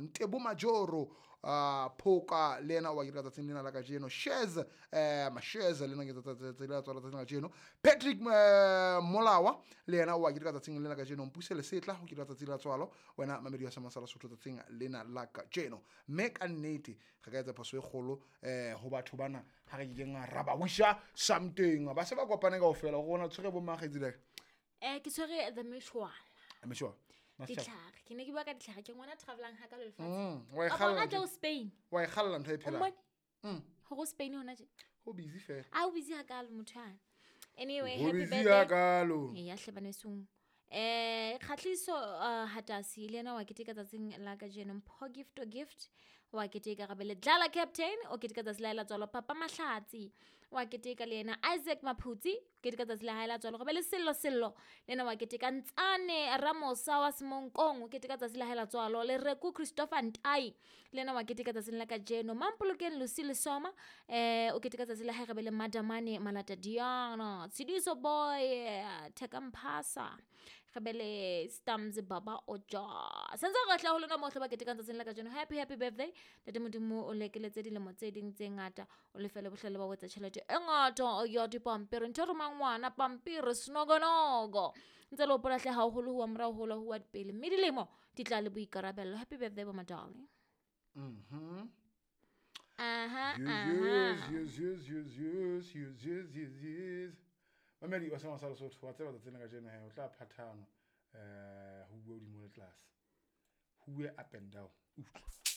Ntebo Majoro, Phoka le yena wa keteka tsatsing lena la kajeno. Shez, Mashez le yena ke tsatsi la tswalo tsatsing la kajeno. Patrick Molawa le yena wa keteka tsatsing lena la kajeno. Mpuse Lesetla o keteka tsatsi la tswalo, wena mamedi wa Semang sa Lesotho tsatsing lena la kajeno. Mme ka nnete re ka etsa phoso e kgolo ho batho bana ha re kekeng ra ba wisha something. Ba se ba kopane kaofela, rona tshwere bo mang kgaitsedi ya ka? Ke tshwere The Meshwala. Meshwala. Ditlhare. Ke ne ke bua ka ditlhare, ke ngwana travelang ha ka lefatshe. Wa e A kgalla bona ntho tje o Spain. Wa e kgalla ntho e O phelang. mmone? Hore o Spain hona tje. Ho busy fela. A o busy hakalo motho yana. Anyway, Ho happy busy birthday. hakalo. Eya hle banesong. Kgahliso Hatasi le yena wa keteka tsatsing la kajeno. Mpho Gift o Gift wa keteka, gape le Dlala Captain o keteka tsatsi la hae la tswalo. Papa Mahlatsi wa keteka le yena. Isaac Maphutsi o keteka tsatsi la hae la tswalo. Gape le Sello Sello le yena wa keteka. Ntsane Ramosa wa Semonkong o keteka tsatsi la hae la tswalo. Lereku Christopher Ntai le yena wa keteka tsatsing la kajeno. Mampolokeng Lucy Lesoma o keteka tsatsi la hae. Gape le Madamane Malata Diana, Tshidiso Boy, Theka Mphasa, gape le Stams Baba Oja. Sentse re tla ho lona mohle ba ketekang tsatsing la kajeno. Happy, happy birthday. Ntate Modimo o lekeletse dilemo tse ding tse ngata, o lefele bohlale ba ho etsa tjhelete e ngata ya dipampiri. Ntho e romang ngwana pampiri senokonogo. Ntse le hopola hle haholo ho wa morao ho ho wa pele, mme dilemo di tla le boikarabello. Happy birthday bo madali. Aha, aha. Yes, yes, yes, yes, yes, yes, yes, yes, yes. Mamedi wa Semang sa Lesotho, wa tseba tsatsing la kajeno he o tla phathana, ho bua hodimo le tlase. Ho bue up and down. Utlwa.